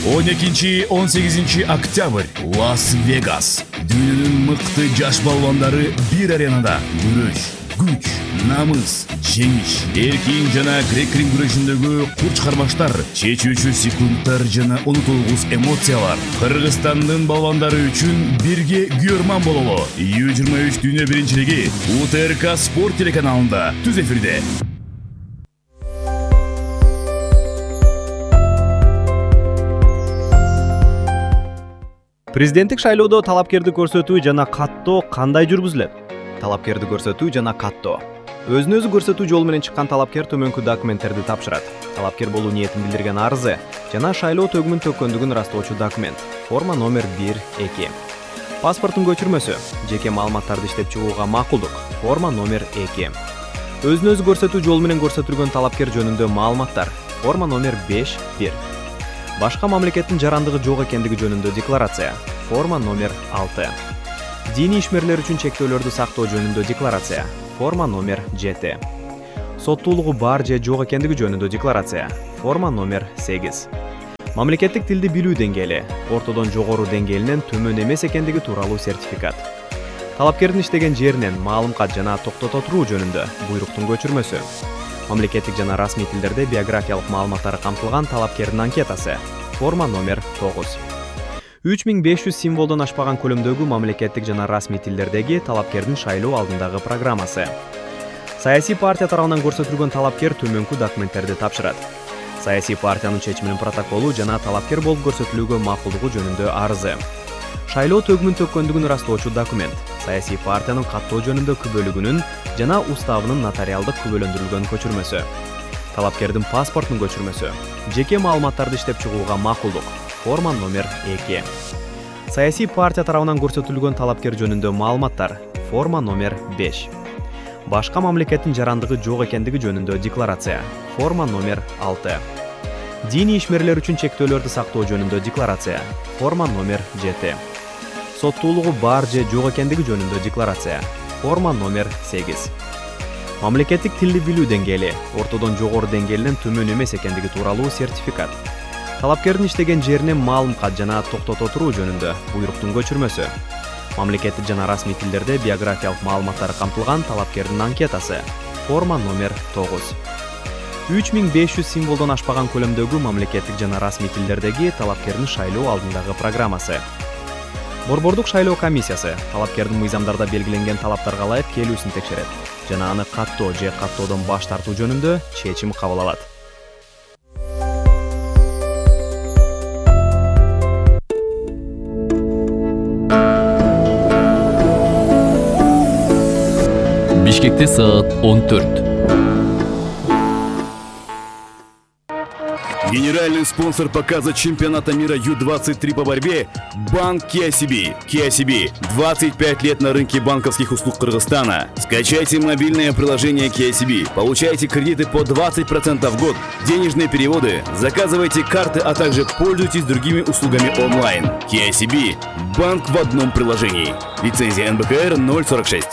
12-18 октябрь Лас-Вегас. Дүйнөнүн мыкты жаш балбандары бир аренада күрөш, күч, намыс, жеңиш, эркин жана грек-рим күрөшүндөгү курч кармаштар, чечүүчү секундтар жана унутулгус эмоциялар. Кыргызстандын балбандары үчүн бирге күйөрман бололу. U23 дүйнө биринчилиги УТРК Спорт телеканалында түз эфирде. Президенттик шайлоодо талапкерди көрсөтүү жана каттоо кандай жүргүзүлөт? Талапкерди көрсөтүү жана каттоо. Өзүн өзү көрсөтүү жолу менен чыккан талапкер төмөнкү документтерди тапшырат. Талапкер болуу ниетин билдирген арызы жана шайлоо төгүмүн төккөндүгүн ырастоочу документ. Форма номер 1-2. Паспорттун көчүрмөсү, жеке маалыматтарды иштеп чыгууга макулдук. Форма номер 2. Өзүн өзү көрсөтүү жолу менен көрсөтүлгөн талапкер жөнүндө маалыматтар. Форма номер 5-1. Башка мамлекеттин жарандыгы жок экендиги жөнүндө декларация. Форма номер 6. Диний ишмерлер үчүн чектөөлөрдү сактоо жөнүндө декларация. Форма номер 7. Соттуулугу бар же жок экендиги жөнүндө декларация. Форма номер 8. Мамлекеттик тилди билүү деңгээли, ортодон жогору деңгээлинен төмөн эмес экендиги тууралуу сертификат. Талапкердин иштеген жеринен маалым кат жана токтото туруу жөнүндө буйруктун көчүрмөсү. Мамлекеттик жана расмий тилдерде биографиялык маалыматтары камтылган талапкердин анкетасы. Форма номер 9. 3500 символдон ашпаган көлөмдөгү мамлекеттик жана расмий тилдердеги талапкердин шайлоо алдындагы программасы. Саясий партия тарабынан көрсөтүлгөн талапкер төмөнкү документтерди тапшырат. Саясий партиянын чечиминин протоколу жана талапкер болуп көрсөтүлүүгө макулдугу жөнүндө арызы. Шайлоо төгүмүн төккөндүгүн ырастоочу документ. Саясий партиянын каттоо жөнүндө күбөлүгүнүн жана уставынын нотариалдык күбөлөндүрүлгөн көчүрмөсү. Талапкердин паспортунун көчүрмөсү. Жеке маалыматтарды иштеп чыгууга макулдук. Форма номер 2. Саясий партия тарабынан көрсөтүлгөн талапкер жөнүндө маалыматтар. Форма номер 5. Башка мамлекеттин жарандыгы жок экендиги жөнүндө декларация. Форма номер 6. Диний ишмерлер үчүн чектөөлөрдү сактоо жөнүндө декларация. Форма номер 7. Соттуулугу бар же жок экендиги жөнүндө декларация. Форма номер 8. Мамлекеттик тилди билүү деңгээли, ортодон жогору деңгээлинен төмөн эмес экендиги тууралуу сертификат. Талапкердин иштеген жеринен маалым кат жана токтото туруу жөнүндө буйруктун көчүрмөсү. Мамлекеттик жана расмий тилдерде биографиялык маалыматтары камтылган талапкердин анкетасы. Форма номер 9. 3500 символдон ашпаган көлөмдөгү мамлекеттик жана расмий тилдердеги талапкердин шайлоо алдындагы программасы. Борбордук шайлоо комиссиясы талапкердин мыйзамдарда белгиленген талаптарга ылайык келүүсүн текшерет жана аны каттоо же каттоодон баш тартуу жөнүндө чечим кабыл алат. Бишкекте саат 14. Генеральный спонсор показа чемпионата мира Ю-23 по борьбе – Банк KCB. KCB – 25 лет на рынке банковских услуг Кыргызстана. Скачайте мобильное приложение KCB, получайте кредиты по 20% в год, денежные переводы, заказывайте карты, а также пользуйтесь другими услугами онлайн. KCB – банк в одном приложении. Лицензия НБКР 046.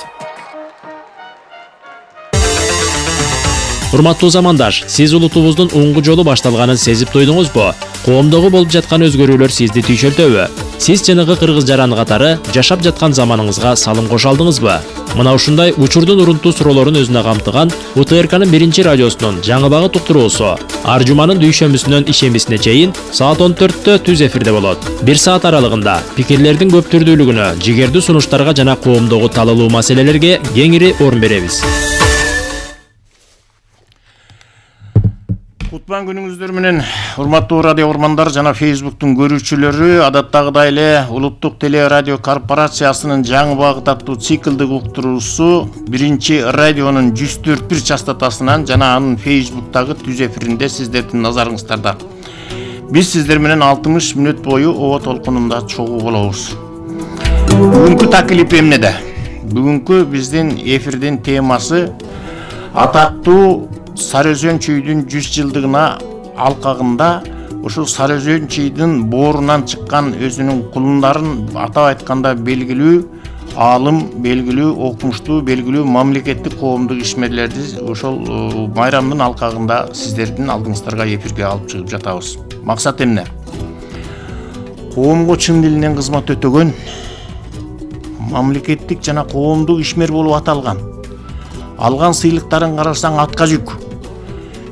Урматтуу замандаш, сиз улутубуздун оңгу жолу башталганын сезип туйдуңузбу? Коомдогу болуп жаткан өзгөрүүлөр сизди түйшөлтөбү? Сиз жанагы кыргыз жараны катары жашап жаткан заманыңызга салым кошо алдыңызбы? Мына ушундай учурдун урунтуу суроолорун өзүнө камтыган УТРКнын 1-радиосунун жаңы багыт уктуруусу ар жуманын дүйшөмбүсүнөн ишембисине чейин саат 14-тө түз эфирде болот. 1 саат аралыгында пикирлердин көп түрдүүлүгүнө, жигердүү сунуштарга жана коомдогу талалуу маселелерге кеңири орун беребиз. Кутман күнүңүздөр менен, урматтуу радио урмандар жана Facebooktун көрүүчүлөрү, адаттагыдай эле Улуттук теле радио корпорациясынын жаңы багыт аттуу циклдик уктуруусу 1-радионун 104.1 частотасынан жана анын Facebooktагы түз эфиринде сиздердин назарыңыздарда. Биз сиздер менен 60 мүнөт бою оо толкунунда чогуу болобуз. Бүгүнкү таклип эмнеде? Бүгүнкү биздин эфирдин темасы атактуу Сарыөзөн чүйдүн 100 жылдыгына алкагында ушул Сарыөзөн чүйдүн боорунан чыккан өзүнүн кулундарын атап айтканда белгилүү аалым, белгилүү окумуштуу, белгилүү мамлекеттик коомдук ишмерлерди ошол майрамдын алкагында сиздердин алдыңыздарга эфирге алып чыгып жатабыз. Максат эмне? коомго чын дилинен кызмат өтөгөн, мамлекеттик жана коомдук ишмер болуп аталган. Алган сыйлыктарын карасаң атка жүк.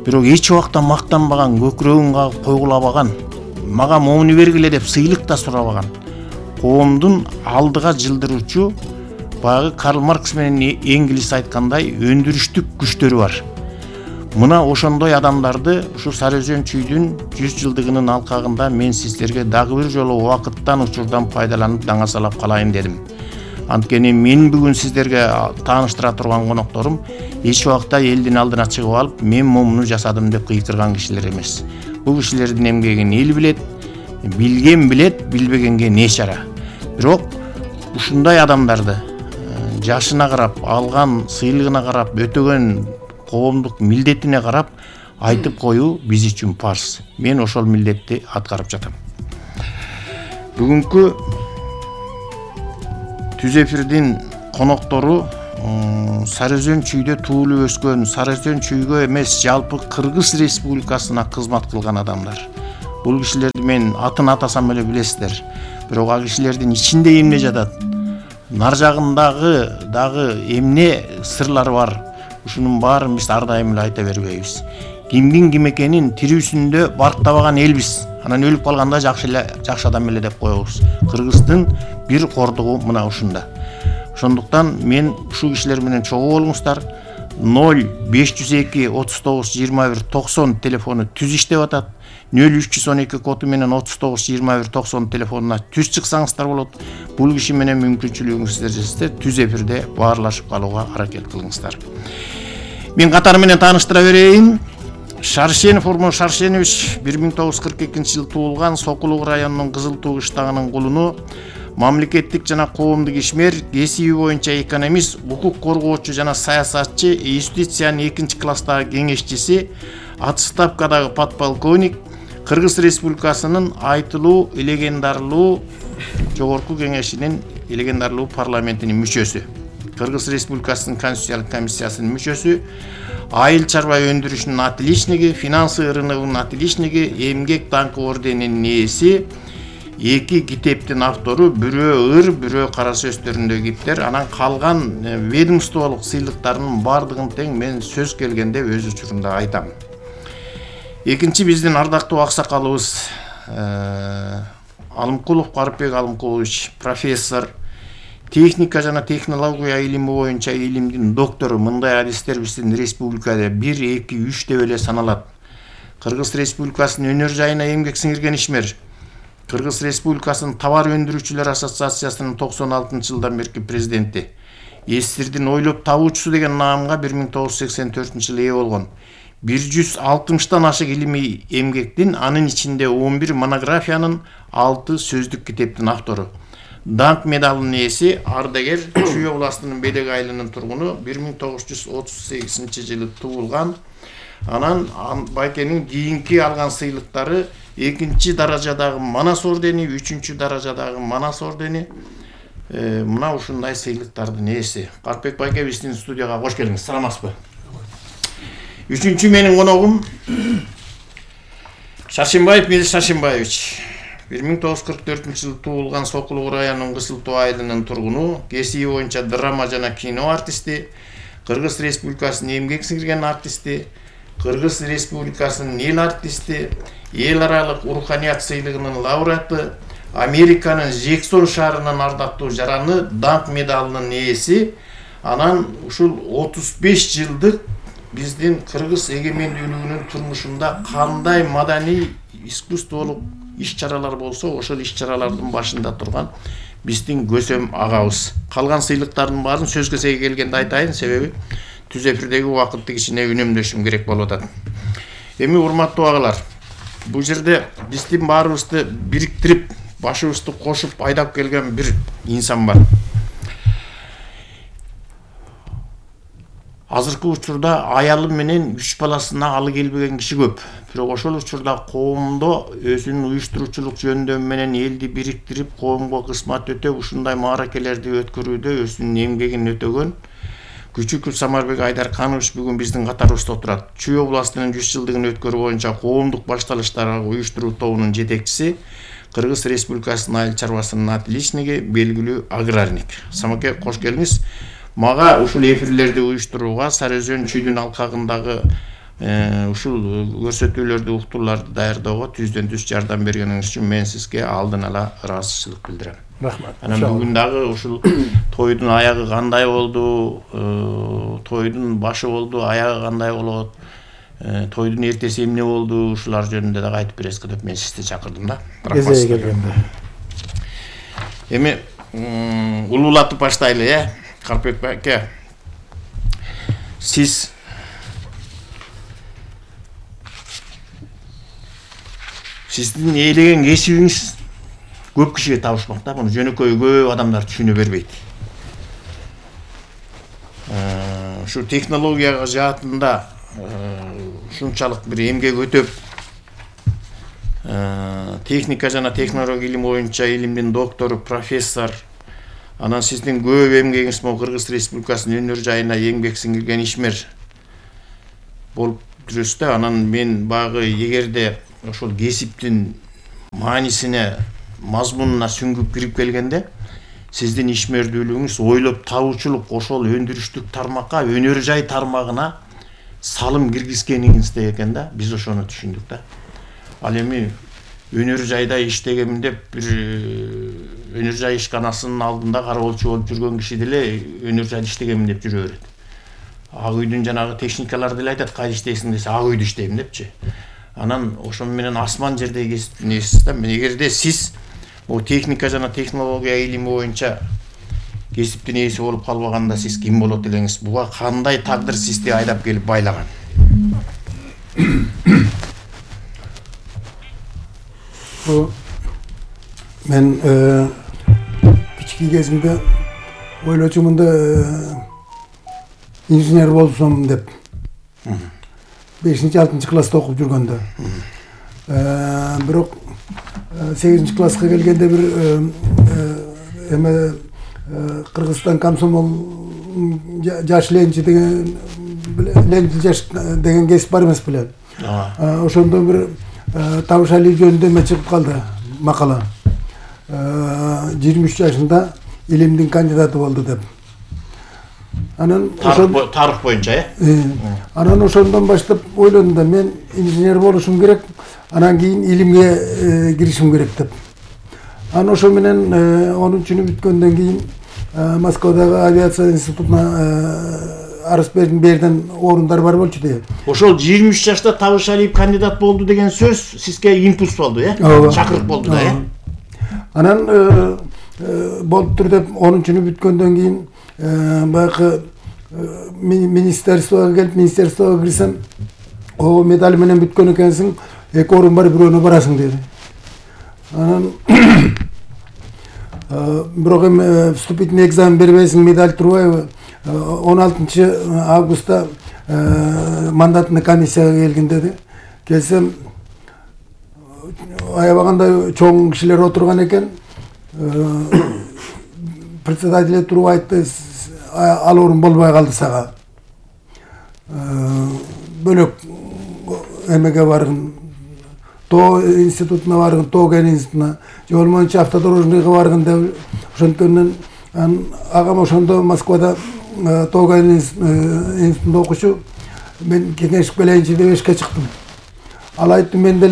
Бирок эч убакта мактанбаган, көкүрөгүн кагып койгулабаган, мага моуну бергиле деп сыйлык да сурабаган. Коомдун алдыга жылдыруучу баягы Карл Маркс менен Энгельс айткандай өндүрүштүк күчтөрү бар. Мына ошондой адамдарды ушу Сары Өзөн чүйдүн 100 жылдыгынын алкагында мен сиздерге дагы бир жолу убакыттан учурдан пайдаланып даңасалап калайын дедим. Анткени мен бүгүн сиздерге тааныштыра турган конокторум эч убакта элдин алдына чыгып алып, мен момуну жасадым деп кыйкырган кишилер эмес. Бул кишилердин эмгегин эл билет, билген билет, билбегенге не чара. Бирок ушундай адамдарды жашына карап, алган сыйлыгына карап, өтөгөн коомдук милдетине карап айтып коюу биз үчүн парз. Мен ошол милдетти аткарып жатам. Бүгүнкү түз эфирдин коноктору Сары Өзөн чүйдө туулуп өскөн, Сары Өзөн чүйгө эмес, жалпы Кыргыз Республикасына кызмат кылган адамдар. Бул кишилерди мен атын атасам эле билесиздер. Бирок ал кишилердин ичинде эмне жатат? Нар жагындагы дагы эмне сырлары бар? Ушунун баарын биз ар дайым эле айта бербейбиз. Кимдин ким экенин тирүүсүндө барктабаган элбиз. Анан өлүп калганда жакшы адам эле деп коебуз. Кыргыздын бир кордугу мына ушунда. Ошондуктан мен ушул кишилер менен чогуу болуңуздар. 0502 39 21 90 телефону түз иштеп атат. 0312 коду менен 39 21 90 телефонуна түз чыксаңыздар болот. Бул киши менен мүмкүнчүлүгүңүздөр жетсе түз эфирде баарлашып калууга аракет кылыңыздар. Мен катары менен тааныштыра берейин. Шаршенов Урмон Шаршенович 1942 жылы туулган, Сокулук районунун Кызыл Туу кыштагынын кулуну, мамлекеттик жана коомдук ишмер, кесиби боюнча экономист, укук коргоочу жана саясатчы, юстициянын 2-класстагы кеңешчиси, отставкадагы подполковник, Кыргыз Республикасынын айтылуу легендарлуу жогорку кеңешинин легендарлуу парламентинин мүчөсү, Кыргыз Республикасынын Конституциялык комиссиясынын мүчөсү, айыл чарба өндүрүшүнүн отличниги, финансы рыногунун отличниги, эмгек даңкы орденинин ээси, 2 китептин автору, бирөө ыр, бирөө кара сөз төрүндөгү китептер, анан калган ведомстволук сыйлыктарынын бардыгын тең мен сөз келгенде өз учурунда айтам. Экинчи биздин ардактуу аксакалыбыз Алымкулов Карыпбек Алымкулович, профессор, техника жана технология илими боюнча илимдин доктору. Мындай адистер биздин республикада 1, 2, 3 деп эле саналат. Кыргыз Республикасынын өнөр жайына эмгек сиңирген ишмер. Кыргыз Республикасынын товар өндүрүүчүлөр ассоциациясынын 96-жылдан берки президенти. Эсирдин ойлоп табуучусу деген наамга 1984-жылы ээ болгон. 160-тан ашык илимий эмгектин, анын ичинде 11 монографиянын, 6 сөздүк китептин автору. Данк медалынын ээси, ардагер, Чүй областынын Белек айылынын тургуну, 1938-жылы туулган. Анан байкенин кийинки алган сыйлыктары 2-чи даражадагы Манас ордени, 3-чү даражадагы Манас ордени. Мына ушундай сыйлыктардын ээси. Карпек байке биздин студияга кош келиңиз. Саламатсызбы? 3-чү менин коногум Шаршенбаев Мелис Шаршенбаевич. 1944-жылы туулган, Сокулук районунун Кызыл Тоо айылынын тургуну, кесиби боюнча драма жана кино артисти, Кыргыз Республикасынын эмгек сиңирген артисти, Кыргыз Республикасынын эл артисти, эл аралык руханият сыйлыгынын лауреаты, Американын Жексон шаарынын ардактуу жараны, Данк медалынын ээси. Анан ушул 35 жылдык биздин Кыргыз эгемендүүлүгүнүн турмушунда кандай маданий, искусстволук иш-чаралар болсо, ошол иш-чаралардын башында турган биздин Көсөм агабыз. Калган сыйлыктардын баарын сөз кезеги келгенде айтайын, себеби түз эфирдеги убакытты кичине үнөмдөшүм керек болуп атат. Эми урматтуу агалар, бул жерде биздин баарыбызды бириктирип, башыбызды кошуп айдап келген бир инсан бар. Азыркы учурда аялы менен 3 баласына алы келбеген киши көп. Бирок ошол учурда коомдо өзүнүн уюштуруучулук жөндөмү менен элди бириктирип, коомго кызмат өтөп, ушундай мааракелерди өткөрүүдө өзүнүн эмгегин өтөгөн Күчүков Самарбек Айдарканович бүгүн биздин катарыбызда отурат. Чүй областынын 100 жылдыгын өткөрүү боюнча коомдук башталыштар уюштуруу тобунун жетекчиси, Кыргыз Республикасынын айыл чарбасынын отличниги, белгилүү аграрник. Самаке, кош келиңиз. Мага ушул эфирлерди уюштурууга, Сары Өзөн чүйдүн алкагындагы ушул көрсөтүүлөрдү, уктурларды даярдоого түздөн-түз жардам бергениңиз үчүн мен сизге алдын ала ыраазычылык билдирем. Рахмат. Анан бүгүн дагы ушул тойдун аягы кандай болду, тойдун башы болду, аягы кандай болот, тойдун эртеси эмне болду, ушулар жөнүндө дагы айтып бересизби деп мен сизди чакырдым да. Эзеге келгенде. Эми улуулатып баштайлы, Карпек аке. Сиздин ээлеген кесибиңиз көп кишиге табышмак да. Муну жөнөкөй көп адамдар түшүнө бербейт. Ушу технологияга жаатында ушунчалык бир эмгек өтөп, техника жана технология илими боюнча илимдин доктору, профессор, анан сиздин көп эмгегиңиз могу Кыргыз Республикасынын өнөр жайына эмгек сиңирген ишмер болуп жүрөсүз да. Анан мен багы эгерде ошол кесиптин маанисине, мазмунуна сүңгүп кирип келгенде, сиздин ишмердүүлүгүңүз ойлоп табуучулук ошол өндүрүштүк тармакка, өнөр жай тармагына салым киргизгениңизде экен да. Биз ошону түшүндүк да. Ал эми өнөр жайда иштегем деп бир өнөр жай ишканасынын алдында кароолчу болуп жүргөн киши деле өнөр жайда иштегем деп жүрө берет. Ак үйдүн жанагы техникалар деле айтат, кайда иштейсиң десе, ак үйдө иштейм депчи. Анан ошону менен асман жердей кесиптин ээсисиз да. Эгерде сиз бул техника жана технология илими боюнча кесиптин ээси болуп калбаганда сиз ким болот элеңиз? Буга кандай тагдыр сизди айдап келип байлаган? Мен кички кезимде ойлочумун да инженер болсом деп. 5-6 класста окуп жүргөндө. Бирок 8 класска келгенде бир Кыргызстан комсомол жаш ленчи деген ленчи жаш деген кесип бар эмес беле. Ошондо бир табыш али жөнүндө эме чыгып калды, макала. 23 жашында илимдин кандидаты болду деп. Анан тарых боюнча, Анан ошондон баштап ойлодум да, мен инженер болушум керек, анан кийин илимге киришим керек деп. Анан ошо менен 10-чүнү бүткөндөн кийин Москвадагы авиация институтуна арыз бердим, берден орундар бар болчу деп. Ошол 23 жашта Табыш Алиев кандидат болду деген сөз сизге импульс болду, чакырык болду да, Анан болуптур деп 10-чүнү бүткөндөн кийин баягы министерствого келип, министерствого кирсем, о медаль менен бүткөн экенсиң, 2 орун бар, бирөөнө барасың деди. Анан бирок эми вступительный экзамен бербейсиң, медаль турбайбы? 16 августта мандатный комиссияга келгин деди. Келсем, аябагандай чоң кишилер отурган экен. Председатель туруп айтты, ал орун болбой калды сага. Бөлөк эмеге баргын, тоо институтуна баргын, тоо кен институтуна, же болмоюнча автодорожныйга баргын деп ошонткөндөн агам ошондо Москвада тоо кен институтунда окучу. Мен кеңешип келейинчи деп эшикке чыктым. Ал айтты, мен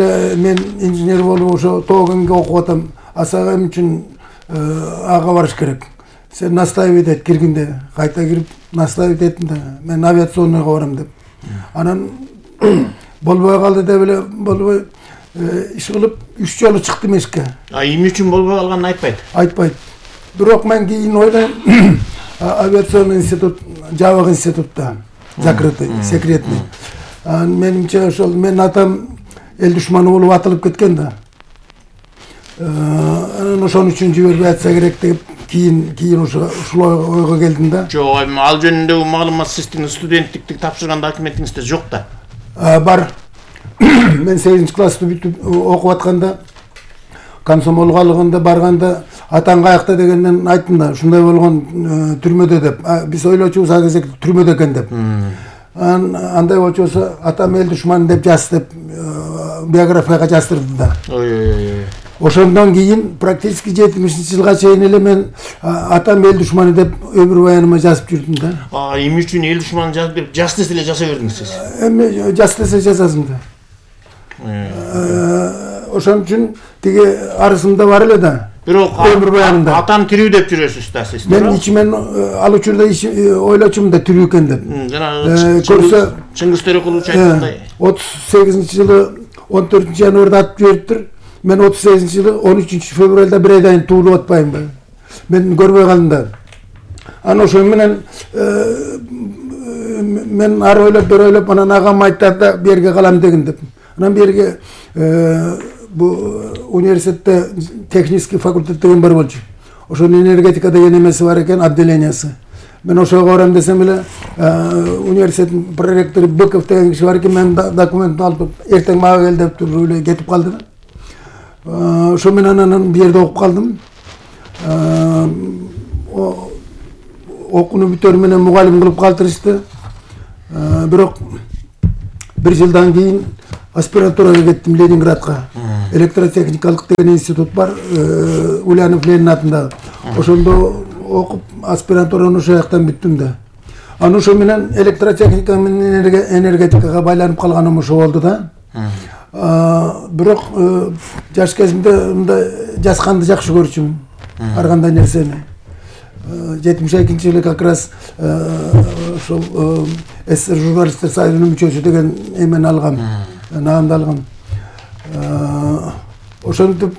инженер болуп ошо тоо кенге окуп атам, сага эмне үчүн ага барыш керек? Сен настаивать эт киргин деди. Кайта кирип настаивать эттим да, мен авиационныйга барам деп. Анан болбой калды деп эле болбой иш кылып 3 жолу чыктым эшикке. Эмне үчүн болбой калганын айтпайт? Айтпайт. Бирок мен кийин ойлойм, авиационный институт, жабык институтта, закрытый, секретный. Менимче ошол мен атам эл душманы болуп атылып кеткен да. Анан ошон үчүн жибербей атса керек деп кийин ушул ойго келдим да. Жок, ал жөнүндөгү маалымат сиздин студенттикти тапшырган документиңизде жок да. Бар. Мен 8 классты бүтүп окуп атканда, комсомолго алганда барганда атаң каякта дегенден айттым да, ушундай болгон түрмөдө деп. Биз ойлочубуз ал кезде түрмөдө экен деп. Андай болчу болсо атам эл душманы деп жаз деп биографияга жаздырды да. Ошондон кийин практически 70-жылга чейин эле мен атам эл душманы деп өмүр баяныма жазып жүрдүм да. Эмне үчүн эл душманын жазып берип, жас десе эле жаса бердиңиз сиз? Эми жас десе жазасың да. Ошон үчүн тиги арызымда бар эле да. Бирок өмүр баянында атам тирүү деп жүрөсүз да сиз. Мен ичимен ал учурда ойлочумун да тирүү экен деп. Жанагы Чыңгыз Төрөкулович айткандай 38-жылы 14-январда атып жибериптир. Мен 38-жылы 13-февралда бир айдан туулуп атпаймынбы? Мен көрбөй калдым да. Анан ошо менен мен ар ойлоп бер ойлоп анан агам айтты да берге калам деген деп. Анан берге бу университетте технический факультет деген бар болчу. Ошонун энергетика деген эмеси бар экен, отделениясы. Мен ошого барам десем эле университеттин проректору Быков деген киши бар экен, мен документти алып эртең мага кел деп туруп эле кетип калды. Ошо менен анан бу жерде окуп калдым. Окууну бүтөр менен мугалим кылып калтырышты. Бирок бир жылдан кийин аспирантурага кеттим Ленинградка. Электротехникалык деген институт бар, Ульянов Ленин атындагы. Ошондо окуп аспирантураны ошол жактан бүттүм да. Анан ошо менен электротехника менен энергетикага байланып калганым ошо болду да. Бирок жаш кезимде мындай жазганды жакшы көрчүмүн. Ар кандай нерсени. 72-жылы как раз ошол СССР журналисттер союзунун мүчөсү деген эмени алгам. Наамды алгам. Ошентип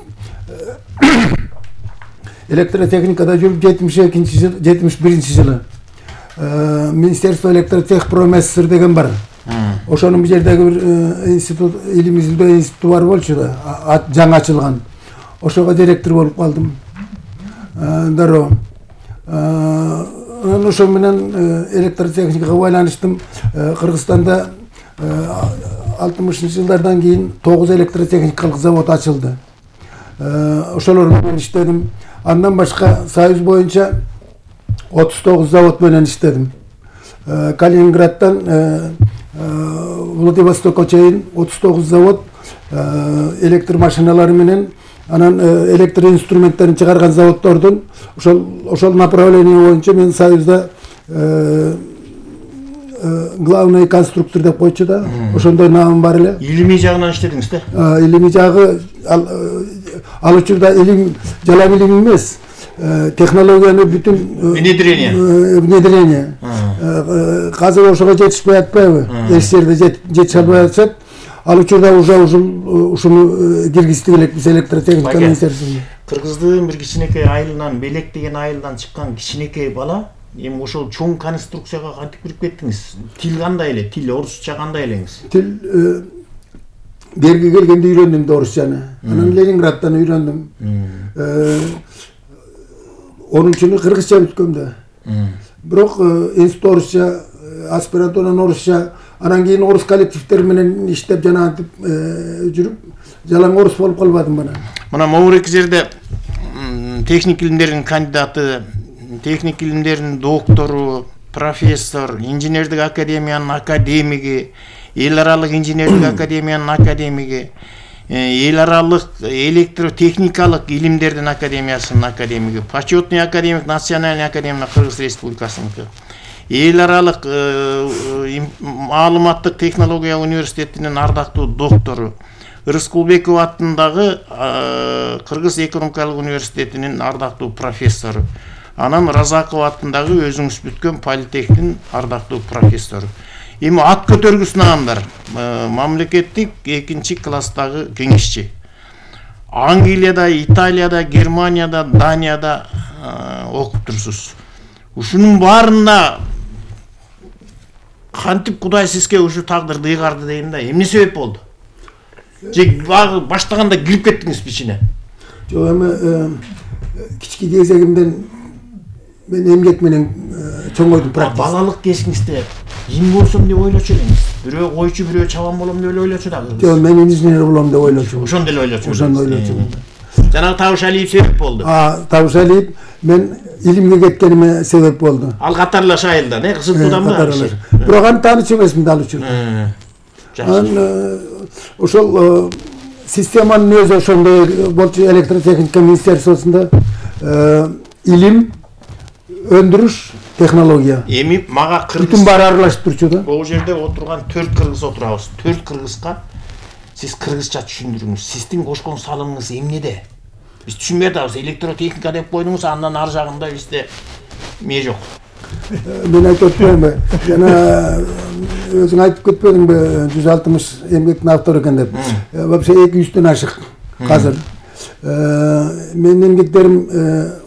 электротехникада жүрүп 71-жылы Министерство электротехпромССР деген бар. Ошонун бу жердеги бир институт, илим изилдөө институту бар болчу да, жаңы ачылган. Ошого директор болуп калдым. Дароо. Анан ошо менен электротехникага байланыштым. Кыргызстанда 60-жылдардан кийин 9 электротехникалык завод ачылды. Ошолор менен иштедим. Андан башка Союз боюнча 39 завод менен иштедим. Калининградтан Владивостокко чейин 39 завод электр машиналары менен, анан электр инструменттерин чыгарган заводдордун ошол направление боюнча мен Союзда главный конструктор деп койчу да. Ошондой наам бар эле. Илимий жагынан иштедиңиз да? Илимий жагы ал учурда илим жалаң илим эмес. Технологияны бүтүн внедрение. Казыр ошого жетишпей атпайбы? Эч жерде жетише албай атышат. Ал учурда уже ушуну киргиздик элек биз электротехника министрлигине. Кыргыздын бир кичинекей айылынан, Белек деген айылдан чыккан кичинекей бала, эми ошол чоң конструкцияга кантип кирип кеттиңиз? Тил кандай эле? Тил орусча кандай элеңиз? Тил берге келгенде үйрөндүм да орусчаны. Анан Ленинградтан үйрөндүм. 10-чуну кыргызча бүткөм да. Бирок институт орусча, аспирантураны орусча, анан кийин орус коллективдер менен иштеп жанагынтип жүрүп, жалаң орус болуп калбадым мына. Мына могуреки жерде техник илимдердин кандидаты, техник илимдердин доктору, профессор, инженердик академиянын академиги, эл аралык инженердик академиянын академиги, эл аралык электротехникалык илимдердин академиясынын академиги, почетный академик Национальный академия Кыргыз Республикасыныкы, эл аралык маалыматтык технология университетинин ардактуу доктору, Рыскулбеков атындагы Кыргыз экономикалык университетинин ардактуу профессору, анан Разаков атындагы өзүңүз бүткөн политехтин ардактуу профессору. Эми ат көтөргүс наамдар, мамлекеттик 2-чи класстагы кеңешчи. Англияда, Италияда, Германияда, Данияда окуп турсуз. Ушунун баарында кантип Кудай сизге ушу тагдырды ыйгарды дейм да, эмне себеп болду? Же баштаганда кирип кеттиңиз ичине? Жок, эми кички кезегимден мен эмгек менен чоңойдум практика. Балалык кезиңизде им болсом деп ойлочу элеңиз. Бирөө койчу, бирөө чабан болом деп ойлочу да. Жок, мен инженер болом деп ойлочумун. Ошондо эле ойлочу. Ошондо ойлочумун. Жанагы Табыш Алиев себеп болду. Табыш Алиев мен илимге кеткениме себеп болду. Ал катарлаш айылдан, Кызылтуудан ба? Бирок аны тааныч эмесмин ал үчүн. Ошол системанын өзү ошондой болчу. Электротехника министерствосунда илим, өндүрүш, технология. Эми мага бүтүн баары аралашып турчу да. Бул жерде отурган 4 кыргыз отурабыз. 4 кыргызга сиз кыргызча түшүндүрүңүз. Сиздин кошкон салымыңыз эмнеде? Биз түшүнбөй атабыз. Электротехника деп койдуңуз, андан ар жагында бизде эмне жок. Мен айтып өтпөймүнбү? Жана өзүң айтып кетпедиңби 160 эмгектин автору экен деп. Вообще 200дөн ашык азыр. Менин эмгектерим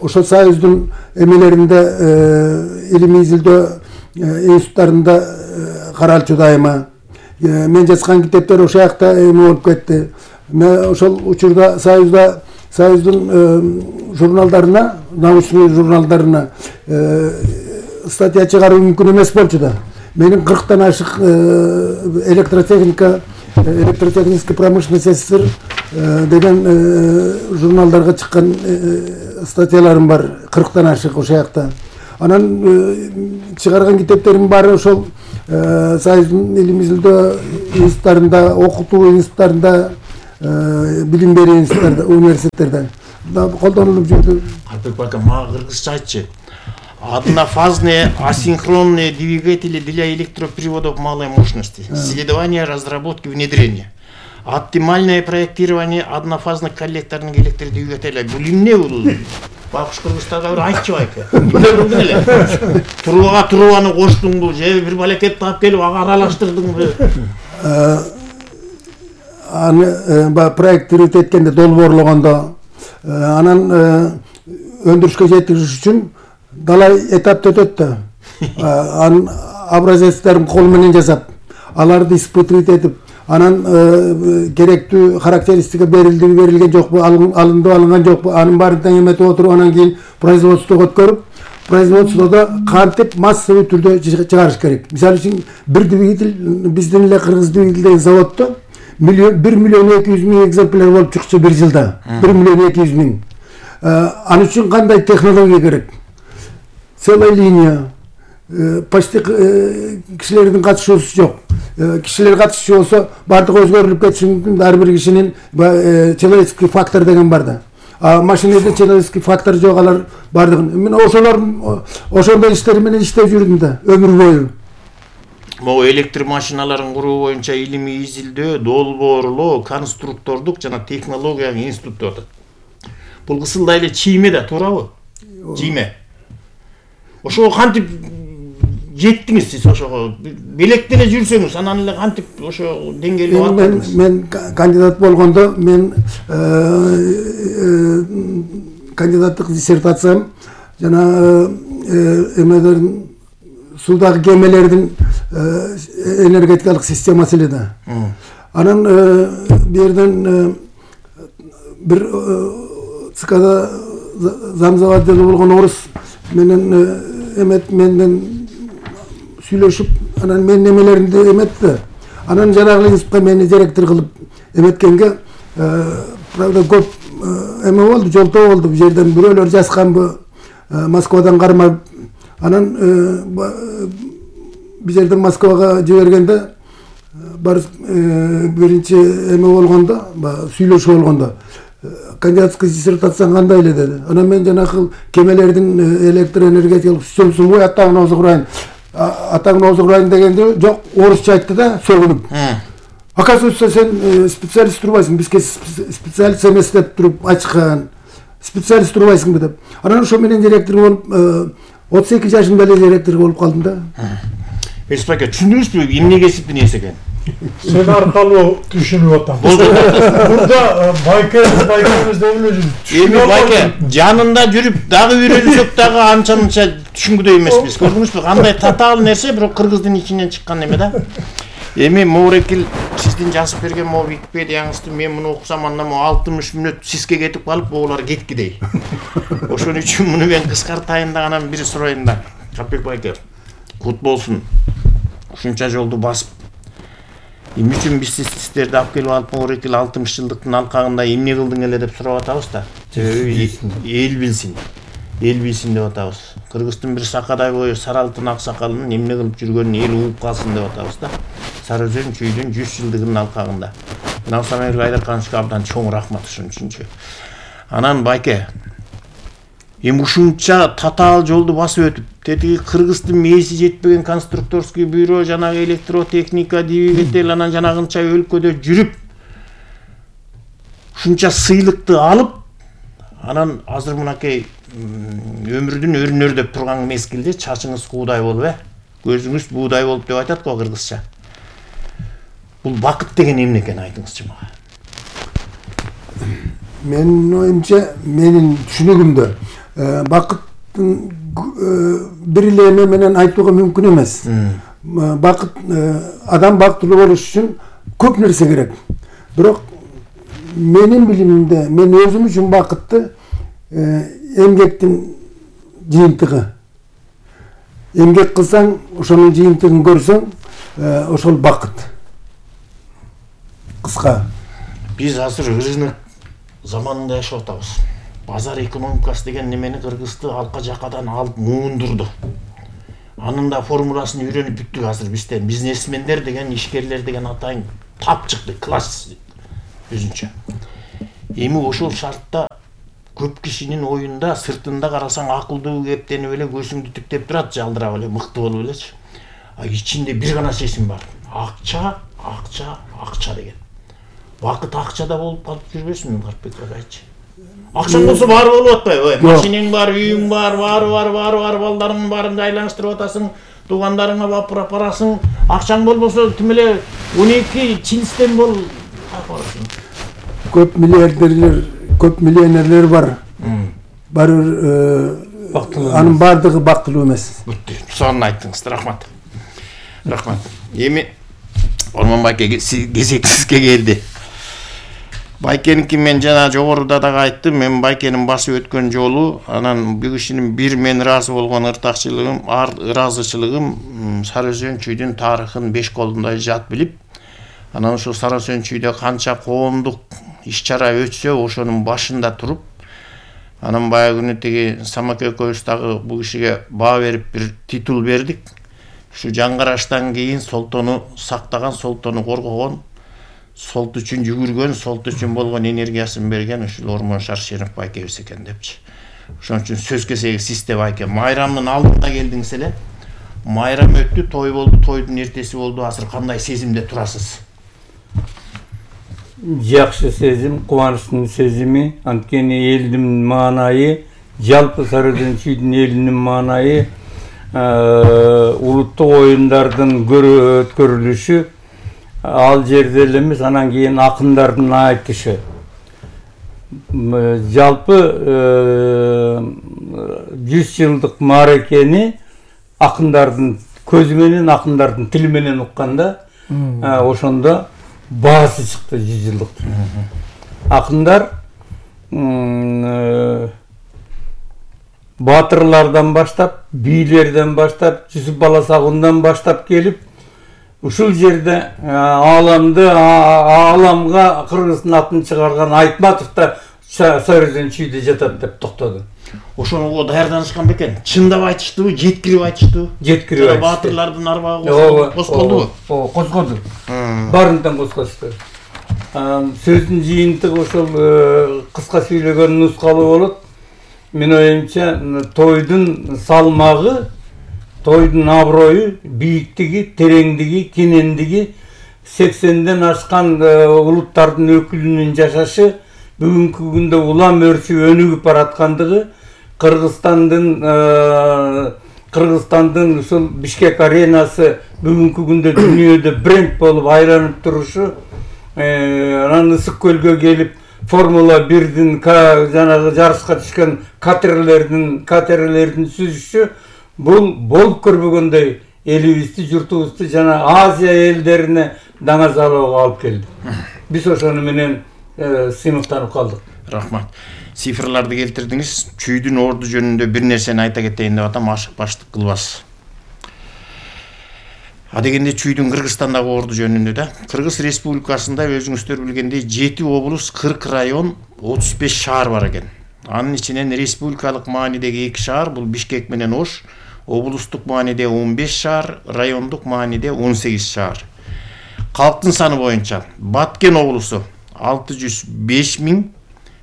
ошол союздун эмелеринде, илимий изилдөө институттарында каралчу дайыма. Мен жазган китептер ошол жакта эме болуп кетти. Мен ошол учурда союздун журналдарына, научный журналдарына статья чыгаруу мүмкүн эмес болчу да. Менин 40тан ашык электротехнический промышленность СССР деген журналдарга чыккан статьяларым бар, 40тан ашык ошол жакта. Анан чыгарган китептерим баары ошол союздун илим изилдөө институттарында, окутуу институттарында, билим берүү институттарында, университеттерде колдонулуп жүрдү. Алпек байка, мага кыргызча айтчы. Однофазные асинхронные двигатели для электроприводов малой мощности. Исследование, разработки, внедрение. Оптимальное проектирование однофазных коллекторных электродвигателей. Бул эмне бул? Бакыш кыргыздарга бир айтчы байка. Эмне эле? Трубаны коштуңбу же бир балекет таап келип ага аралаштырдыңбы? Аны проектировать эткенде, долбоорлогондо, анан өндүрүшкө жеткириш үчүн далай этапты өтөт да. Анын образецтерин кол менен жасап, аларды испытывать этип, анан керектүү характеристика берилген жокпу, алынды алынган жокпу, анын баарын тең эметип отуруп, анан кийин производствого өткөрүп, производстводо кантип массовый түрдө чыгарыш керек. Мисалы үчүн бир двигатель, биздин эле Кыргыз двигатель деген заводдо 1 миллион 200 миң экземпляр болуп чыкчу бир жылда. 1 миллион 200 миң. Аны үчүн кандай технология керек? Целая линия. Почти кишилердин катышуусу жок. Кишилер катышчу болсо бардыгы өзгөрүлүп кетиши мүмкүн. Ар бир кишинин человеческий фактор деген бар да. Машинеде человеческий фактор жок, алар бардыгын. Мен ошондой иштер менен иштеп жүрдүм да өмүр бою. Могу электр машиналарын куруу боюнча илимий изилдөө, долбоорлоо, конструктордук жана технологиялык институт деп атат. Бул кысылда эле чийме да, туурабы? Чийме. Ошого кантип жеттиңиз сиз ошого? Белектене жүрсөңүз, анан эле кантип ошо деңгээлге бардыңыз? Мен кандидат болгондо, мен кандидаттык диссертациям жана эмелердин, суудагы кемелердин энергетикалык системасы эле да. Анан бирден бир ЦКда замзаводдел болгон орус менен менден сүйлөшүп, анан менин эмелеримди эметти. Анан жанагы институтка мени директор кылып эметкенге, правда көп эме болду, жолтоо болду. Бул жерден бирөөлөр жазганбы, Москвадан кармап, анан бул жерден Москвага жибергенде бар биринчи эме болгондо, сүйлөшүү болгондо, кандидатский диссертацияң кандай эле деди. Анан мен жанагы кемелердин электроэнергетикалык системасын бой атагын озук урайын дегенде жок, орусча айтты да, сөгүнүп. Оказывается, сен специалист турбайсың, бизге специалист эмес деп туруп ачкан. Специалист турбайсыңбы деп. Анан ошо менен директор болуп, 32 жашымда эле директор болуп калдым да. Эспаке, түшүндүңүзбү эмне кесиптин ээси экен? Сен аркалуу түшүнүп атам. Мурда байкебиз деп эле жүрүп. Эми байке жанында жүрүп дагы үйрөнсөк дагы анча-мынча түшүнгүдөй эмеспиз. Көрдүңүзбү, кандай татаал нерсе, бирок кыргыздын ичинен чыккан эме да. Эми Моорекил сиздин жазып берген могу Википедияңызды мен муну окусам, анда могу 60 мүнөт сиске кетип калып, бугулар кеткидей. Ошон үчүн муну мен кыскартайын да, анан бир сурайын да. Алпек байке, кут болсун. Ушунча жолду басып эмне үчүн биз сиздерди алып келип алып Моорекил 60 жылдыктын алкагында эмне кылдың эле деп сурап атабыз да. Эл билсин. Эл билсин деп атабыз. Кыргыздын бир сакадай бою сары алтын ак сакалынын эмне кылып жүргөнүн эл угуп калсын деп атабыз да. Сары Өзөн чүйдүн 100 жылдыгынын алкагында. Навсамер Айдархановичке абдан чоң рахмат ушун үчүнчү. Анан байке эми ушунча татаал жолду басып өтүп, тетиги Кыргыздын мээси жетпеген конструкторский бюро, жанагы электротехника, двигатель, анан жанагынча өлкөдө жүрүп, ушунча сыйлыкты алып, анан азыр мынакей өмүрдүн өрнөрдөп турган мезгилде чачыңыз куудай болуп, көзүңүз буудай болуп деп айтат го кыргызча. Бул бакыт деген эмне экен, айтыңызчы мага. Менин оюмча, менин түшүнүгүмдө бакыттын бир эле эме менен айтууга мүмкүн эмес. Бакыт, адам бактылуу болуш үчүн көп нерсе керек. Бирок менин билимимде, мен өзүм үчүн бакытты эмгектин жыйынтыгы. Эмгек кылсаң, ошонун жыйынтыгын көрсөң, ошол бакыт. Кыска. Биз азыр рынок заманында жашап атабыз. Базар экономикасы деген немени Кыргызды алка жакадан алып муундурду. Анын да формуласын үйрөнүп бүттүк азыр бизден. Бизнесмендер деген, ишкерлер деген атайын тап чыкты, класс өзүнчө. Эми ошол шартта көп кишинин оюнда сыртында карасаң акылдуу кептенип эле көзүңдү тиктеп турат, жалдырап эле, мыкты болуп элечи. А ичинде бир гана чечим бар. Акча, акча, акча деген. Бакыт акчада болуп калып жүрбөсүнбү, Карпбек агайчы? Акчаң болсо баары болуп атпайбы? Машинең бар, үйүң бар, баары балдарыңдын баарын айланыштырып атасың, туугандарыңа бапырап барасың. Акчаң болбосо тим эле 12 чинстен бол барасың. Көп миллиардерлер, көп миллионерлер бар. Анын бардыгы бактылуу эмес. Сонун айттыңыз, рахмат. Рахмат. Эми Ормон байке кезек сизге келди. Байкеники мен жана жогоруда дагы айттым, мен байкенин басып өткөн жолу, анан бул кишинин бир мен ыраазы болгон ыраазычылыгым Сары Өзөн чүйдүн тарыхын 5 колундай жат билип, анан ошо Сары Өзөн чүйдө канча коомдук иш-чара өтсө, ошонун башында туруп, анан баягы күнү тиги Самак экөөбүз дагы бул кишиге баа берип бир титул бердик. Ушу жаңгараштан кийин Солтону сактаган, Солтону коргогон, Солт үчүн жүгүргөн, Солт үчүн болгон энергиясын берген ушул Ормон Шаршенов байкебиз экен депчи. Ошон үчүн сөз кезеги сизде байке. Майрамдын алдында келдиңиз эле. Майрам өттү, той болду, тойдун эртеси болду. Азыр кандай сезимде турасыз? Жакшы сезим, кубанычтын сезими. Анткени элдин маанайы, жалпы Сары Өзөн чүйдүн элинин маанайы улуттук оюндардын өткөрүлүшү, ал жерде эле эмес, анан кийин акындардын айтышы. Жалпы 100 жылдык мааракени акындардын көзү менен, акындардын тили менен укканда, ошондо баасы чыкты 100 жылдыктын. Акындар батырлардан баштап, бийлерден баштап, Жүсүп Баласагундан баштап келип, ушул жерде ааламга Кыргыздын атын чыгарган Айтматов да Сары Өзөн чүйдө жатат деп токтоду. Ошону даярданышкан бекен. Чындап айтыштыбы, жеткирип айтыштыбы? Жеткирип айтышты. Батырлардын арбагы козголдубу? Козголду. Барындан козгошту. Сөздүн жыйынтыгы ошол кыска сүйлөгөн нускалуу болот. Мен оюмча тойдун салмагы, тойдун аброю, бийиктиги, тереңдиги, кенендиги, 80ден ашкан улуттардын өкүлүнүн жашашы бүгүнкү күндө улам өрчүп өнүгүп бараткандыгы, Кыргызстандын ушул Бишкек аренасы бүгүнкү күндө дүйнөдө бренд болуп айланып турушу, анан Ысык көлгө келип Формула 1дин жанагы жарышка түшкөн катерлердин сүзүшү, бул болуп көрбөгөндөй элибизди, журтубузду жана Азия элдерине даңа залоого алып келди. Биз ошону менен сыймыктанып калдык. Рахмат. Цифрларды келтирдиңиз. Чүйдүн орду жөнүндө бир нерсени айта кетейин деп атам, ашык баштык кылбас. Адегенде чүйдүн Кыргызстандагы орду жөнүндө да. Кыргыз Республикасында өзүңүздөр билгендей 7 облус, 40 район, 35 шаар бар экен. Анын ичинен республикалык маанидеги 2 шаар, бул Бишкек менен Ош, облустук мааниде 15 шаар, райондук мааниде 18 шаар. Калктын саны боюнча Баткен облусу 605 000,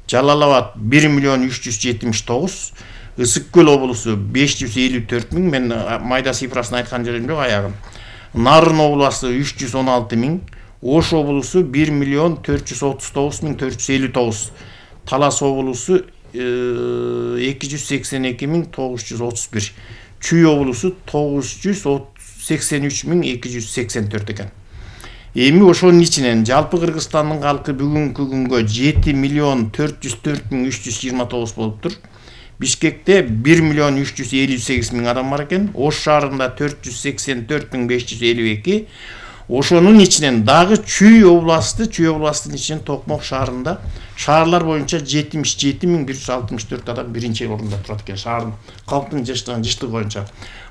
Жалал-Абад 1 379, Ысык Көл облусу 554 000, мен майда цифрасын айткан жерим жок аягын. Нарын облусу 316 000, Ош облусу 1 439 459, Талас облусу 282 931, Чүй облусу 983 284 экен. Эми ошонун ичинен жалпы Кыргызстандын калкы бүгүнкү күнгө 7 404 329 болуптур. Бишкекте 1 358 000 адам бар экен. Ош шаарында 484 552. Ошонун ичинен дагы Чүй областын ичинен Токмок шаарында шаарлар боюнча 77 164 адам биринчи орунда турат экен. Шаардын калктын жыштыгы боюнча.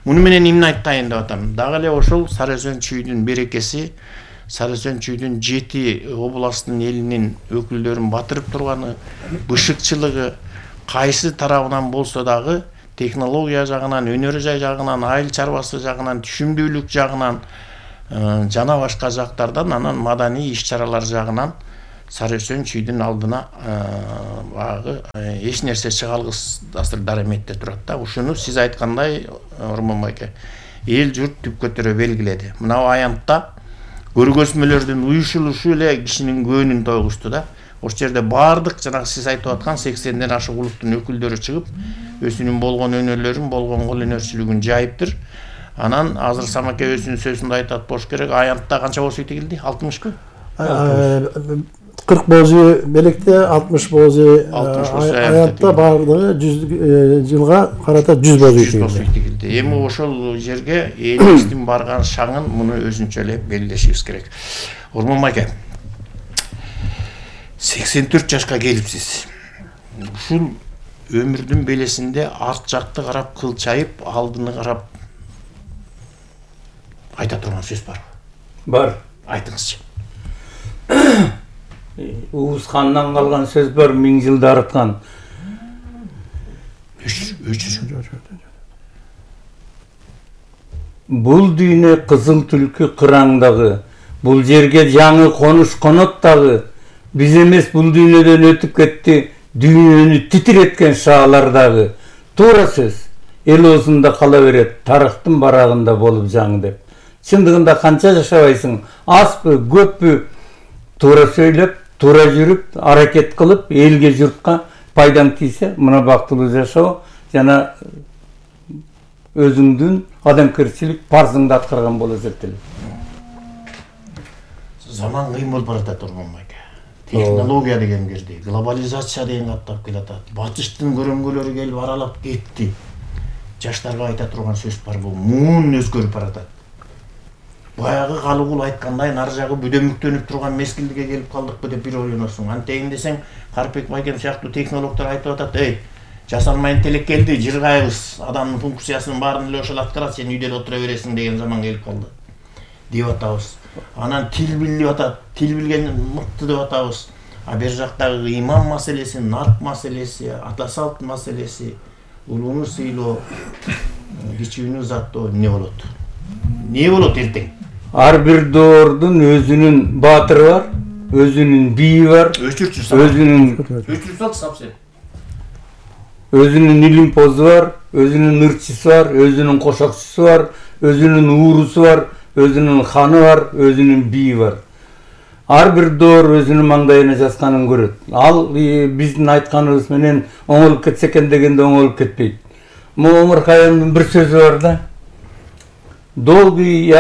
Муну менен эмне айтайын деп атам. Дагы эле ошол Сары Өзөн Чүйдүн берекеси, Сары Өзөн Чүйдүн 7 областтын элинин өкүлдөрүн батырып турганы, бышыкчылыгы кайсы тарабынан болсо дагы технология жагынан, өнөр жагынан, айыл чарбасы жагынан, түшүмдүүлүк жагынан жана башка жактардан, анан маданий иш-чаралар жагынан Сары Өзөн Чүйдүн алдына багы эч нерсе чыга алгысыз дараметте турат да. Ушуну сиз айткандай, Ормон байке, эл журт түп көтөрө белгиледи. Мына аянтта көргөзмөлөрдүн уюшулушу эле кишинин көңүлүн тойгузду да. Ошол жерде баардык жанагы сиз айтып аткан 80ден ашык улуттун өкүлдөрү чыгып, өзүнүн болгон өнөрлөрүн, болгон кол өнөрчүлүгүн жайыптыр. Анан азыр Самаке өзүнүн сөзүндө айтат болуш керек. Аянтта канча болсо тигилди? 60 40 боозу белекте, 60 боозу аянтта баардыгы 100 жылга карата 100 боозу тигилди. Эми ошол жерге элибиздин барган шаңын муну өзүнчө эле белгилешибиз керек. Ормон байке, 84 жашка келипсиз. Ушул өмүрдүн белесинде арт жакты карап кылчайып, алдыны карап айта турган сөз барбы? Бар. Айтыңызчы. Уус хандан калган сөз бар, 1000 жылда арыткан. Бул дүйнө кызыл түлкү кыраңдагы, бул жерге жаңы конуш конот дагы, биз эмес бул дүйнөдөн өтүп кетти, дүйнөнү титиреткен шаалардагы. Туура сөз, эл оозунда кала берет, тарыхтын барагында болуп жаңы деп. Чындыгында канча жашабайсың, азбы, көппү, туура сөйлөп, туура жүрүп, аракет кылып, элге, журтка пайдаң тийсе, мына бактылуу жашоо жана өзүңдүн адамгерчилик парзыңды аткарган болуп эсептелет. Заман кыйын болуп баратат, Ормон байке. Технология деген кирди, глобализация деген каттап келатат. Батыштын көрөңгөлөрү келип аралап кетти. Жаштарга айта турган сөз бар, бул муун өзгөрүп баратат. Баягы Калыгул айткандай, нары жагы бүдөмүктөнүп турган мезгилге келип калдыкпы деп бир ойлоносуң. Антейин десең, Карпек байкем сыяктуу технологдор айтып атат, жасалма интеллект келди, жыргайбыз, адамдын функциясынын баарын эле ошол аткарат, сен үйдө эле отура бересиң деген заман келип калды деп атабыз. Анан тил билип атат, тил билген мыкты деп атабыз. А бер жактагы иман маселеси, нарк маселеси, ата салт маселеси, улууну сыйлоо, кичүүнү узаттоо эмне болот? Не болот эртең? Ар бир доордун өзүнүн баатыры бар, өзүнүн бийи бар, өзүнүн илимпозу бар, өзүнүн ырчысы бар, өзүнүн кошокчусу бар, өзүнүн уурусу бар, өзүнүн ханы бар, өзүнүн бийи бар. Ар бир доор өзүнүн маңдайына жазганын көрөт. Ал биздин айтканыбыз менен оңолуп кетсе экен дегенде оңолуп кетпейт. Омар Хайямдын бир сөзү бар да. Долгий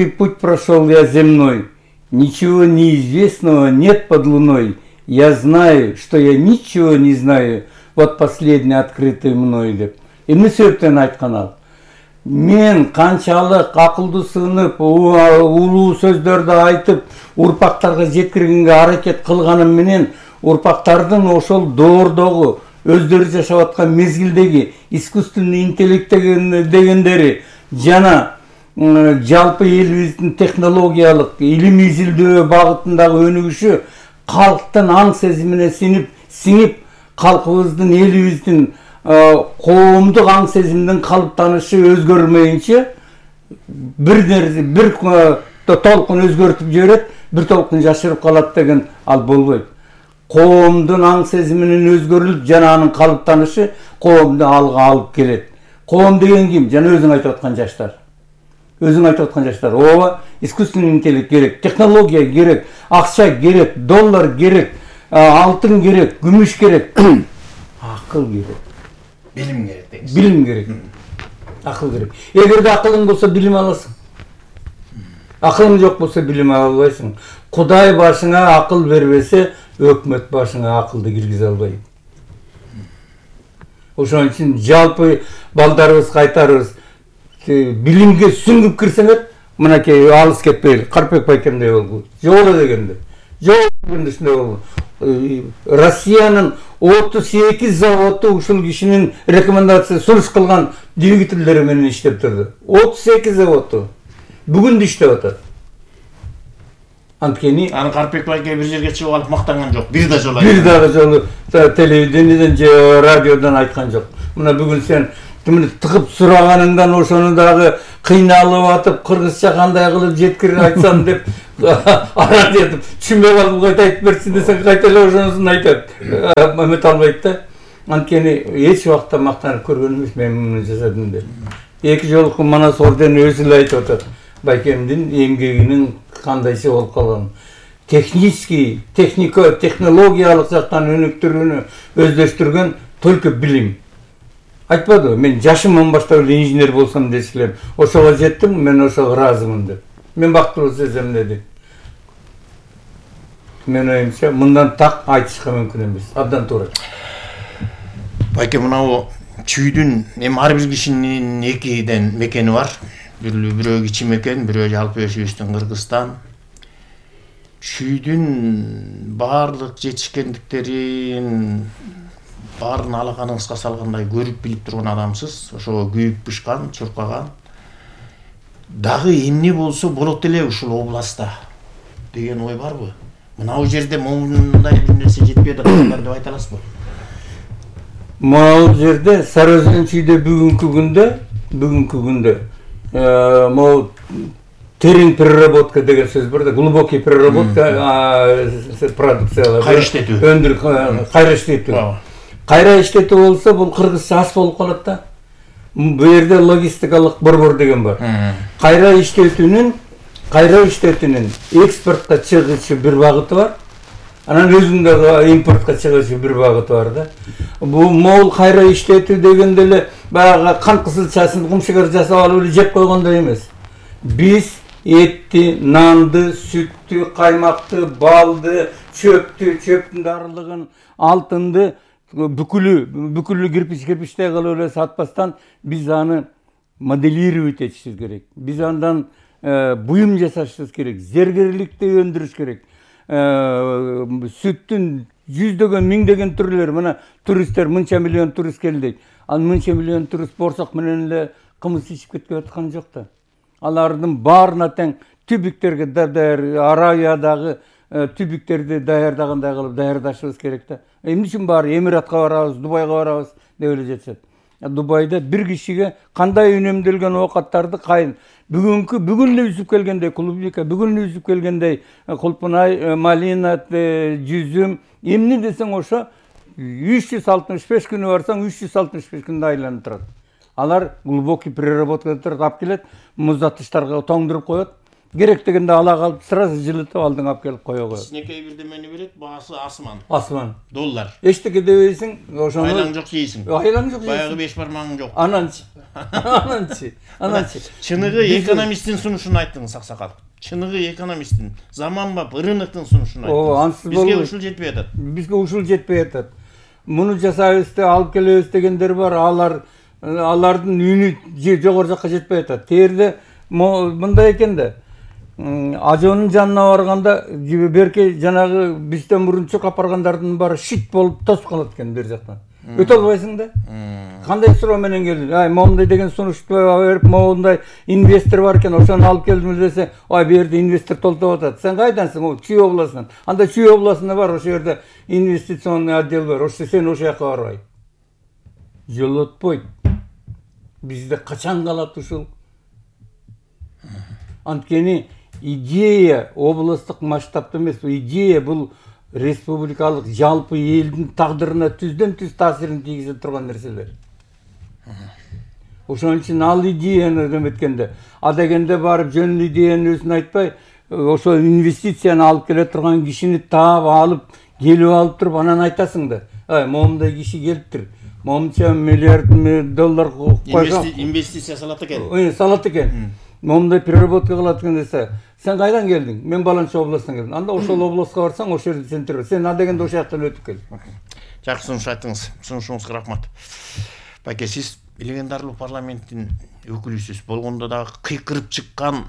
путь прошел я земной, ничего неизвестного нет под луной. Я знаю, что я ничего не знаю, вот последний открытый мной деп. Эмне себептен айткан ал? Мен канчалык акылдуу сынып, улуу сөздөрдү айтып, урпактарга жеткиргенге аракет кылганым менен урпактардын ошол доордогу өздөрү жашап аткан мезгилдеги искусственный интеллект дегендери жана жалпы элибиздин технологиялык илим изилдөө багытындагы өнүгүшү калктын аң сезимине сиңип калкыбыздын, элибиздин коомдук аң сезимдин калыптанышы өзгөрмөйүнчө бир толкун өзгөртүп жиберет, бир толкун жашырып калат деген ал болбойт. Коомдун аң сезиминин өзгөрүлүп, жана анын калыптанышы коомду алга алып келет. Коом деген ким? Жана өзүң айтып аткан жаштар. Өзүң айтып аткан жаштар. Ооба, искусственный интеллект керек, технология керек, акча керек, доллар керек, алтын керек, күмүш керек, акыл керек. Билим керек дейсиз. Билим керек. Акыл керек. Эгерде акылың болсо билим аласың. Акылың жок болсо билим ала албайсың. Кудай башыңа акыл бербесе, өкмөт башыңа акылды киргизе албайт. Ошон үчүн жалпы балдарыбызга айтарыбыз, билимге сүңгүп кирсеңер, мынакей алыс кетпейли. Карпек байкемдей болгула. Жолу дегенде. Жол дегенде ушундай болду. Россиянын 38 заводу ушул кишинин рекомендация сунуш кылган двигателдери менен иштеп турду. 38 заводу. Бүгүн да иштеп атат. Анткени аны Карпек байке бир жерге чыгып алып мактанган жок. Бир да жолу. Бир дагы жолу телевидениеден же радиодон айткан жок. Мына бүгүн сен тыгып сураганыңдан ошону дагы кыйналып атып, кыргызча кандай кылып жеткирип айтсам деп арат этип, түшүнбөй калып кайта айтып берсин десең, кайта эле ошонусун айтат. Эмете албайт да. Анткени эч убакта мактанып көргөн эмес, мен муну жасадым деп. Эки жолку Манас ордени өзү эле айтып атат. Байкемдин эмгегинин кандайча болуп калган. Технологиялык жактан өнүктүрүүнү өздөштүргөн только билим. Айтпады, мен жашымдан баштап эле инженер болсом десем, ошого жеттим, мен ошого ыраазымын деп. Мен бактылуу сезем деди. Мен оюмча, мындан так айтышка мүмкүн эмес. Абдан туура. Байке, мынау чүйдүн эми ар бир кишинин экиден мекени бар. Бирөө кичи мекен, бирөө жалпы өсүбүздүн Кыргызстан. Чүйдүн баардык жетишкендиктерин баарын алаканыңызга салгандай көрүп билип турган адамсыз. Ошого күйүп бышкан, чуркаган. Дагы эмне болсо болот эле ушул областта деген ой барбы? Мынау жерде мындай бир нерсе жетпей атат деп айта аласызбы? Могул жерде Сарыөзөн чүйдө бүгүнкү күндө могу терең переработка деген сөз бар да, глубокий переработка продукциялар. Кайра иштетүү. Кайра иштетүү. Кайра иштетүү болсо бул кыргызча ас болуп калат да. Бу жерде логистикалык борбор деген бар. Кайра иштетүүнүн экспортко чыгышы бир багыты бар. Анан өзүндө импортко чыгышы бир багыты бар да. Бул могул кайра иштетүү дегенде эле баягы кант кызылчасын кумшугар жасап алып эле жеп койгондой эмес. Биз этти, нанды, сүттү, каймакты, балды, чөптүн дарылыгын, алтынды бүкүлү кирпичтей кылып эле сатпастан биз аны моделировать этишибиз керек. Биз андан буюм жасашыбыз керек, зергерликти өндүрүш керек. Сүттүн жүздөгөн, миңдеген түрлөрү, мына туристтер мынча миллион турист келди. Ал мынча миллион турист борсок менен эле кымыз ичип кетип аткан жок да. Алардын баарына тең түбүктерге Аравиядагы түбүктерди даярдагандай кылып даярдашыбыз керек да. Эмне үчүн баары Эмиратка барабыз, Дубайга барабыз деп эле жетишет. Дубайда бир кишиге кандай үнөмдөлгөн оокаттарды бүгүн эле үзүп келгендей клубника, бүгүн эле үзүп келгендей кулпунай, малина, жүзүм, эмне десең ошо 365 күнү барсаң 365 күндө айланып турат. Алар глубокий переработка турат, алып келет, муздаткычтарга тоңдуруп коет. Керек дегенде ала калып сразу жылытып алдың алып келип кое коет. Кичинекей бирдемени берет, баасы асман. Асман. Доллар. Эчтеке дебейсиң, ошону айлаң жок жейсиң. Айлаң жок жейсиң. Баягы 5 бармагың жок. Ананчы. Чыныгы экономисттин сунушун айттыңыз, Аксакал. Чыныгы экономисттин, заманбап рыноктун сунушун айттыңыз. Бизге ушул жетпей атат. Бизге ушул жетпей атат. Муну жасайбыз деп алып келебиз дегендер бар, алардын үнү жогору жакка жетпей атат. Терде мындай экен да. Ажонун жанына барганда берке жанагы бизден мурун чуркап баргандардын баары шит болуп тосуп калат экен бер жактан. Өтө албайсың да. Кандай суроо менен келди? Момундай деген сунушту берип, момундай инвестор бар экен, ошону алып келдим десе, бу жерде инвестор толтоп атат. Сен кайдансың? Чүй областынан. Анда Чүй областында бар, ошол жерде инвестиционный отдел бар. Ошо сен ошол жака барбай. Жолотпойт. Бизде качан калат ушул? Анткени идея областтык масштабта эмес, идея бул республикалык жалпы элдин тагдырына түздөн-түз таасирин тийгизе турган нерселер. Ошон үчүн ал идеяны эметкенде, адегенде барып жөн идеянын өзүн айтпай, ошо инвестицияны алып келе турган кишини таап алып, келип алып туруп анан айтасың да. Момундай киши келиптир. Момунча миллиард доллар койгон. Инвестиция салат экен. Салат экен. Момундай переработка кылат экен десе, сен кайдан келдиң? Мен баланча областтан келдим. Анда ошол областка барсаң, ошол жерде сен тур. Сен адегенде ошол жактан өтүп кел. Жакшы сунуш айттыңыз. Сунушуңузга рахмат. Байке, сиз легендарлуу парламенттин өкүлүсүз болгондо дагы кыйкырып чыккан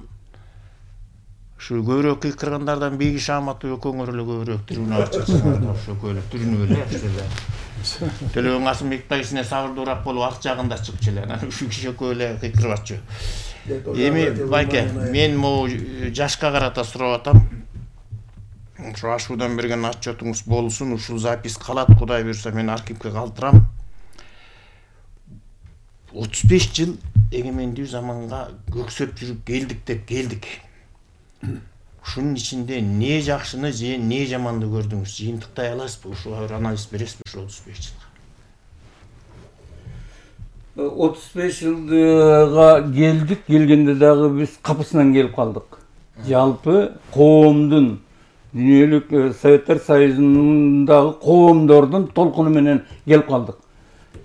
ушу көбүрөөк кыйкыргандардан Бейги Шааматов экөөңөр эле көбүрөөк тирүүнү ачасыңар да, ошо экөө эле тирүүнү эле ушул Төлөгөн Касымбек байгисине сабырдуураак болуп арт жагында чыкчу эле, анан ушу киши экөө эле кыйкырып атчу. Эми Байке, мен могу жашка карата сурап атам. Ушу ашуудан берген отчетуңуз болсун, ушул запись калат, Кудай буйрса мен архивге калтырам. 35 жыл эгемендүү заманга көксөп жүрүп келдик деп келдик. Ушунун ичинде не жакшыны же не жаманды көрдүңүз? Жыйынтыктай аласызбы? Ушуга бир анализ бересизби ушул 35 жылга? 35 жылга келдик, келгенде дагы биз капысынан келип калдык. Жалпы коомдун, дүйнөлүк Советтер Союзундагы коомдордун толкуну менен келип калдык.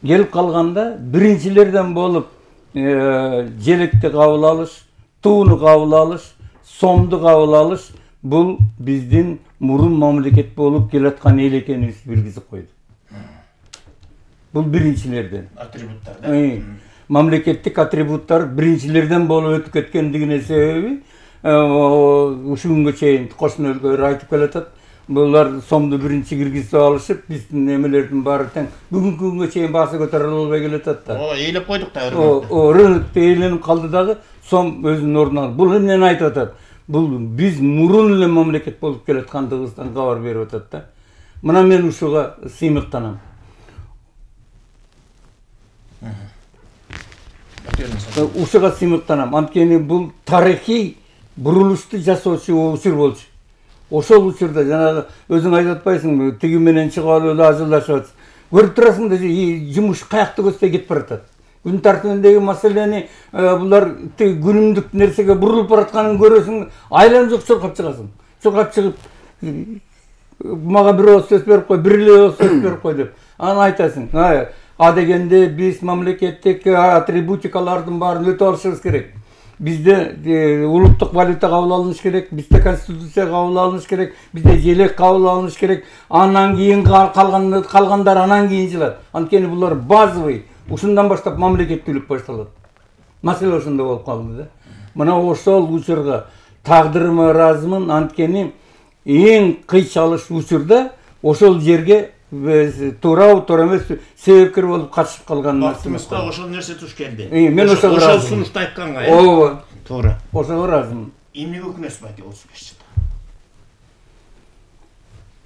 Келип калганда биринчилерден болуп желекти кабыл алыш, тууну кабыл алыш, сомду кабыл алыш бул биздин мурун мамлекет болуп келаткан эл экенибизди билгизип койду. Бул биринчилерден. Атрибуттар. Мамлекеттик атрибуттар биринчилерден болуп өтүп кеткендигине себеби ушул күнгө чейин кошуна өлкөлөр айтып келатат. Булар сомду биринчи киргизип алышып, биздин немелердин баары тең бүгүнкү күнгө чейин баасы көтөрүлө албай келатат да. Ээлеп койдук да. Рынокто ээленип калды дагы, сом өзүнүн ордуна. Бул эмнени айтып атат? Бул биз мурун эле мамлекет болуп келаткандыгыбыздан кабар берип атат да. Мына мен ушуга сыймыктанам. Ушуга сыймыктанам. Анткени бул тарыхый бурулушту жасоочу учур болчу. Ошол учурда жанагы өзүң айтып атпайсыңбы, тиги менен чыгып алып эле ажылдашып атсың. Көрүп турасың да, жумуш каякта көздөй кетип баратат. Күн тартибиндеги маселени булар күнүмдүк нерсеге бурулуп баратканын көрөсүң, айланып жок чуркап чыгасың. Чуркап чыгып мага бир ооз сөз берип кой, бир эле ооз сөз берип кой деп. Аны айтасың. Адегенде биз мамлекеттик атрибутикалардын баарын өтүп алышыбыз керек. Bizde улуттук валюта кабыл алыныш керек, bizde конституция кабыл алыныш керек, bizde желек кабыл алыныш керек. Анан кийин калгандар анан кийин жылат. Анткени булар базовый. Ушундан баштап мамлекеттүүлүк башталат. Маселе ошондо болуп калды да. Мына ошол учурга тагдырыма ыраазымын, анткени эң кыйчалыш учурда ошол жерге туура эмес себепкер болуп катышып калган бактыбызга ошол нерсе туш келди. Мен ошол сунушту айтканга. Ооба. Туура. Ошого ыраазымын. Эмнеге өкүнөсүз байке 35 жылда?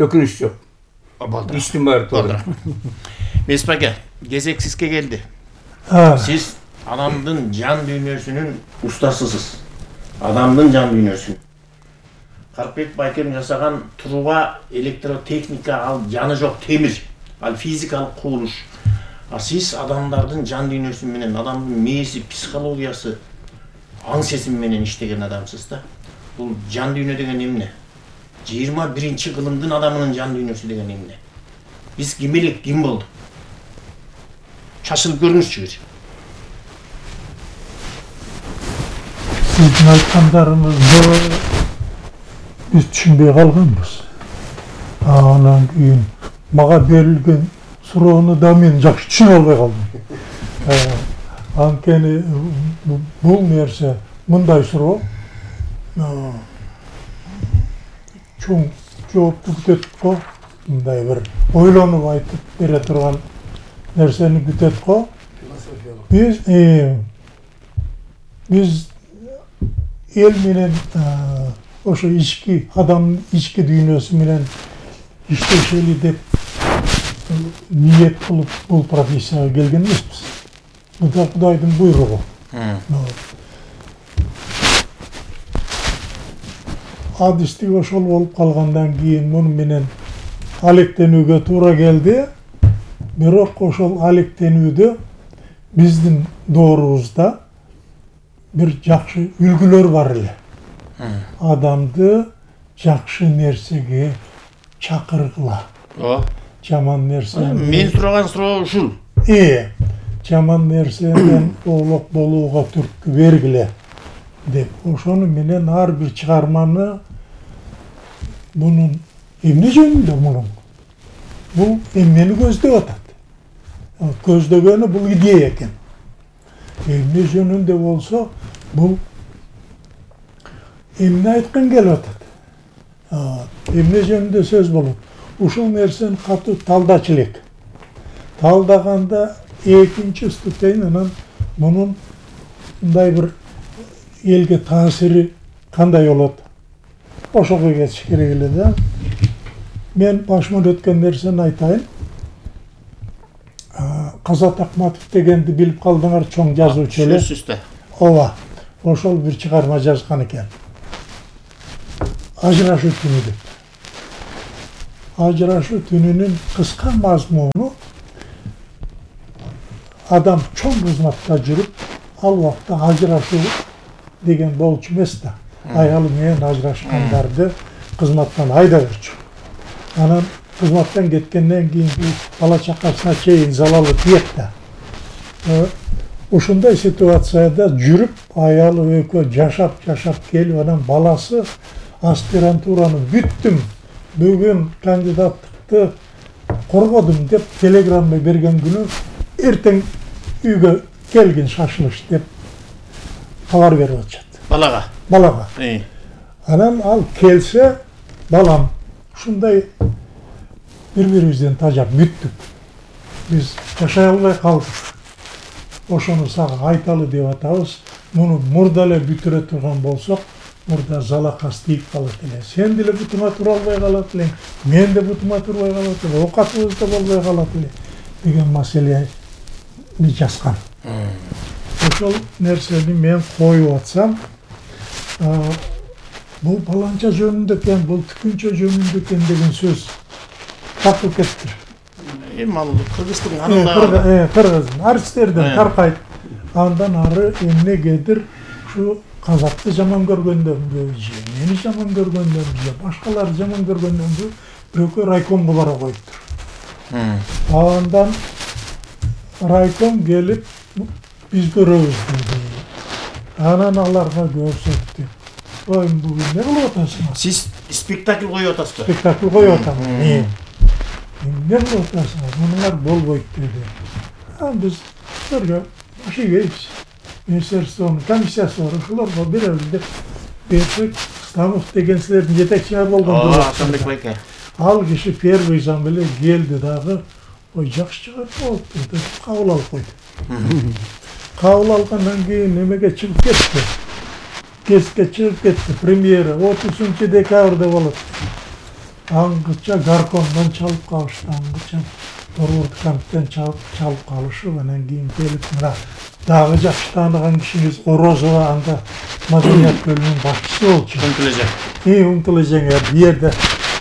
Өкүнүч жок. Иштин баары туура. Месип байке, кезек сизге келди. Сиз адамдын жан дүйнөсүнүн устасысыз. Адамдын жан дүйнөсүнүн. Карпбек байкем жасаган труба электротехника, ал жаны жок темир, ал физикалык курулуш. А сиз адамдардын жан дүйнөсү менен, адамдын мээси, психологиясы, аң сезим менен иштеген адамсыз да. Бул жан дүйнө деген эмне? 21-кылымдын адамынын жан дүйнөсү деген эмне? Биз ким элек, ким болдук? Чачылып көрүңүзчү бир. Сиздин айткандарыңызды biz түшүнбөй калганбыз. Анан кийин мага берилген суроону да мен жакшы түшүнө албай калдым. Анткени бул нерсе мындай суроо чоң жоопту күтөт го, мындай бир ойлонуп айтып бере турган нерсени күтөт го. Биз эл менен ошо ички адам ички дүйнөсү менен иштешели деп ниет кылып бул профессияга келген эмеспиз. Бул да Кудайдын буйругу. адистик ошол болуп калгандан кийин муну менен алектенүүгө туура келди. Бирок ошол алектенүүдө биздин доорубузда бир жакшы үлгүлөр бар эле. Адамды жакшы нерсеге чакыргыла. Жаман нерсе. Мен сураган суроо ушул. Жаман нерседен оолок болууга түрткү бергиле деп. Ошону менен ар бир чыгарманы бунун эмне жөнүндө мунун? Бул эмнени көздөп атат? Көздөгөнү бул идея экен. Эмне жөнүндө болсо, бул эмне айткан келип атат? Эмне жөнүндө сөз болот? Ушул нерсени катуу талдачу элек. Талдаганда экинчи ступень анан мунун мындай бир элге таасири кандай болот? Ошого кетиш керек эле да. Мен башыман өткөн нерсени айтайын. Казат Акматов дегенди билип калдыңар, чоң жазуучу эле. Сөзсүздө. Ооба. Ошол бир чыгарма жазган экен. Ажырашуу түнү деп. Ажырашуу түнүнүн кыска мазмуну адам чоң кызматта жүрүп, ал убакта ажырашуу деген болчу эмес да. Аялы менен ажырашкандарды кызматтан айдабырчу. Анан кызматтан кеткенден кийин бала чакасына чейин залалы тиет да. Ушундай ситуацияда жүрүп, аялы экөө жашап келип, анан баласы аспирантураны бүттүм, бүгүн кандидаттыкты коргодум деп телеграмма берген күнү эртең үйгө келгин шашылыш деп кабар берип атышат. Балага. Анан ал келсе, балам, ушундай бири-бирибизден тажап бүттүк. Биз жашай албай калдык. Ошону сага айталы деп атабыз. Муну мурда эле бүтүрө турган болсок, мурда залакас тийип калат эле. Сен деле бутуңа тура албай калат элең, мен да бутума турбай калат эле, оокатыбыз да болбой калат эле деген маселени жазган. Ошол нерсени мен коюп атсам, бул баланча жөнүндө экен, бул түкүнчө жөнүндө экен деген сөз тартып кетти. Ал кыргыздын анында кыргыздын артисттерден таркайт. Андан ары эмнегедир ушу казакты жаман көргөндөнбү, мени жаман көргөндөнбү, башкаларды жаман көргөндөнбү, бирөкө райкомго бара коюптур. Андан райком келип биз көрөбүз деди. Анан аларга көрсөттү. Ой, бүгүн эмне кылып атасыңар? Сиз спектакль коюп атасызбы? Спектакль коюп атам. Эмне кылып атасыңар? Мунуңар болбойт деди. Биз силерге баш ийгейбиз. Министерствонун комиссиясы бар, ошолорго беребиз деп берсек, Станов деген силердин жетекчиңер болгон. Асанбек байке. Ал киши первый зам эле келди дагы, ой, жакшы чыгат болуптур деп кабыл алып койду. Кабыл алгандан кийин немеге чыгып кетти. Кеске чыгып кетти. Премьера 30 декабрда болот. Аңгыча Гаркомдон чалып калышты, аңгыча Торгорду камптен чалып калышып, анан кийин келип мына дагы жакшы тааныган кишиңиз Орозова, анда маданият бөлүмүнүн башчысы болчу. Умтулажең бу жерде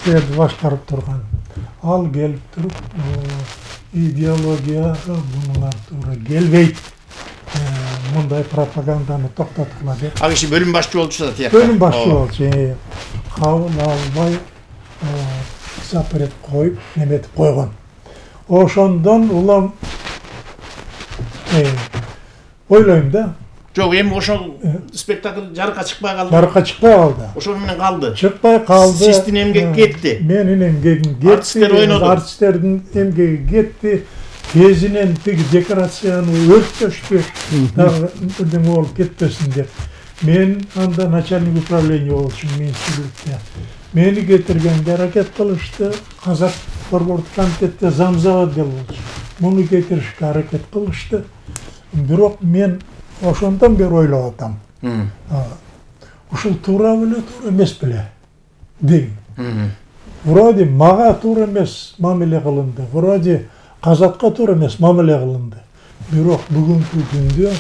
силерди башкарып турган. Ал келип туруп, идеология бунуңар туура келбейт. Мындай пропаганданы токтоткула деп. Ал киши бөлүм башчы болчу да, тияк. Бөлүм башчы болчу. Кабыл албай запрет коюп, неметип койгон. Ошондон улам ойлойм да. Жок, эми ошол спектакль жарыкка чыкпай калды. Жарыкка чыкпай калды. Ошол менен калды. Чыкпай калды. Сиздин эмгек кетти. Менин эмгегим кетти. Артисттер ойноду. Артисттердин эмгеги кетти. Кезинен тиги декорацияны өрттөштү. Дагы бирдеме болуп кетпесин деп. Мен анда начальник управления болчумун министрликте. Мени кетиргенге аракет кылышты. Казак борбордук комитетте замзаводдел болчу. Муну кетиришке аракет кылышты. Бирок мен ошондон бери ойлоп атам. Ушул туура беле, туура эмес беле дейм. Вроде мага туура эмес мамиле кылынды. Вроде казакка туура эмес мамиле кылынды. Бирок бүгүнкү күндө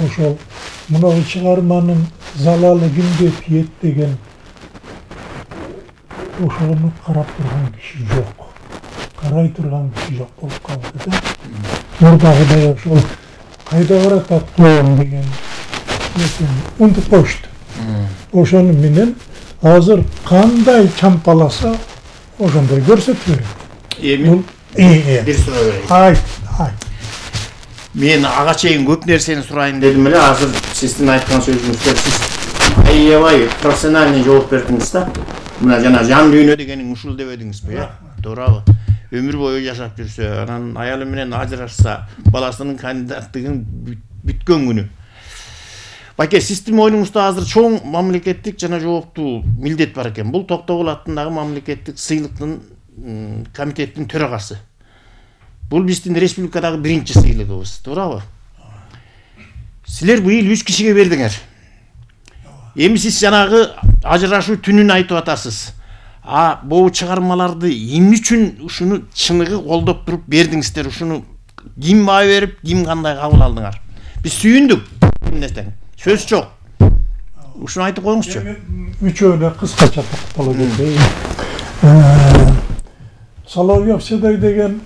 ошол мына чыгарманын залалы кимге тиет деген ошону карап турган киши жок, карай турган киши жок болуп калды да. Мурдагыдай ошол кайда баратат коом деген унутуп коюшту. Ошону менен азыр кандай чампаласа ошондой көрсөтүп берет. Эми бир суроо берейин. Айт. Мен ага чейин көп нерсени сурайын дедим эле, азыр сиздин айткан сөзүңүздө сиз аябай профессиональный жооп бердиңиз да. Мына жана жан дүйнө дегениң ушул деп эдиңизби, туурабы? Өмүр бою жашап жүрсө, анан аялы менен ажырашса, баласынын кандидаттыгын бүткөн күнү. Байке, сиздин мойнуңузда азыр чоң мамлекеттик жана жооптуу милдет бар экен. Бул Токтогул аттындагы мамлекеттик сыйлыктын комитеттин төрагасы. Бул биздин республикадагы биринчи сыйлыгыбыз, туурабы? Силер быйыл 3 кишиге бердиңер. Эми сиз жанагы ажырашуу түнүн айтып атасыз. Бул чыгармаларды эмне үчүн ушуну чыныгы колдоп туруп бердиңиздер? Ушуну ким баа берип, ким кандай кабыл алдыңар? Биз сүйүндүк. Эмнесең? Сөз жок. Ушуну айтып коюңузчу. Үчөөнө кыскача токтоло кетейин. Соловьев Седой деген